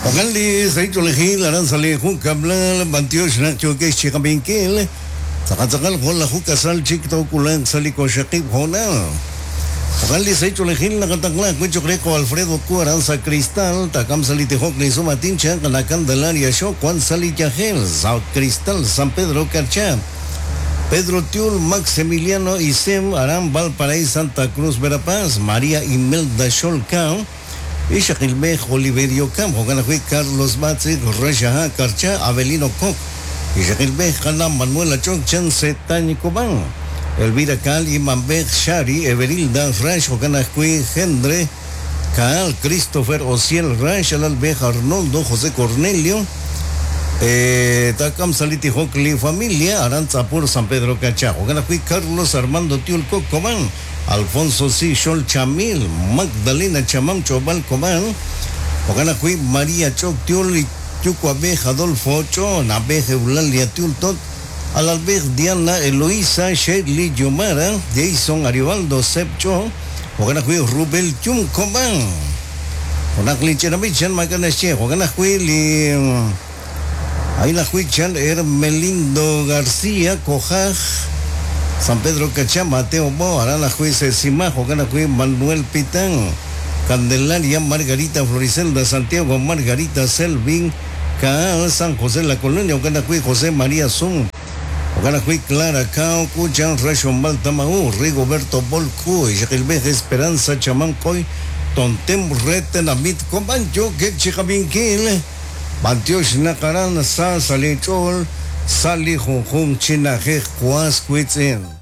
Jo'kan li sahil ch'oolejil aran sa' li junkab'lal b'antiox naq yookex chi qab'inkil. Tz'aqal tz'aqal junlaju k'asal chik took'ulanq sa' li waqxaqib' hoonal. Jo'kan li sahil ch'oolejil naqataqla ajwi' cho'q re jo' Alfredo Ku aran sa' Cristal, taak'am sa' li tijok li sum aatin chaq La Candelaria Xo wan sa' li yajel, sa' Cristal, San Pedro Carchá. Pedro Tiul, Max Emiliano Isem aran Valparaíso Santa Cruz Verapaz, María Imelda Xol Ka, Ixaqilb'ej Oliverio Cam, jo'kan ajwi' Carlos Batzi, Raxaha Karcha, Avelino Kok, Ixaqilb'ej Qana Manuela Ch'ok, Chan Setañ Cobán, Elvira Kaal, Imanb'ej Shari, Everilda Rax, jo'kan ajwi' Gendre Kaal, Christopher Osiel Rax, Alalb'ej Arnoldo, José Cornelio, Taak'am sa' li tijok li familia aran Tz'apur San Pedro Kachá, jo'kan ajwi' Carlos Armando Tiul Kok Cobán, Alfonso Si Xol Chamil, Magdalena Chamam Ch'ob'al Kob'an, jo'kan ajwi' María Ch'ok Tiul, Yuwa'b'ej Adolfo Ch'o, Na'b'ej Eulalia Tiul Tot, Alalb'ej Diana Eloisa, Shirley Yomara, Jason Ariovaldo Seb Ch'o, jo'kan ajwi' Rubel Yum Kob'an. Junaq li ch'ina b'ich chan maak'a' naxye, jo'kan ajwi' li A'in ajwi' chan Hermelindo García, Kojaj, San Pedro Cachá, Mateo Bo, aran ajwi' Sesimá, jo'kan ajwi' Manuel Pitán, Candelaria, Margarita Floricelda, Santiago, Margarita, Selvin, Caal, San José La Colonia, jo'kan ajwi' José María Zum, jo'kan ajwi' Clara Cao, K'uchan, Raxonb'al Tama'u, Rigoberto Bol K'u, Ixaqilb'ej Esperanza Chamam K'oy, Tontem re tenamit Kob'an yookeb' chi qab'inkil. B'antiox naq aran sa sa' li ch'ool sa' li junjunq chi na'ajej was wiitz'in.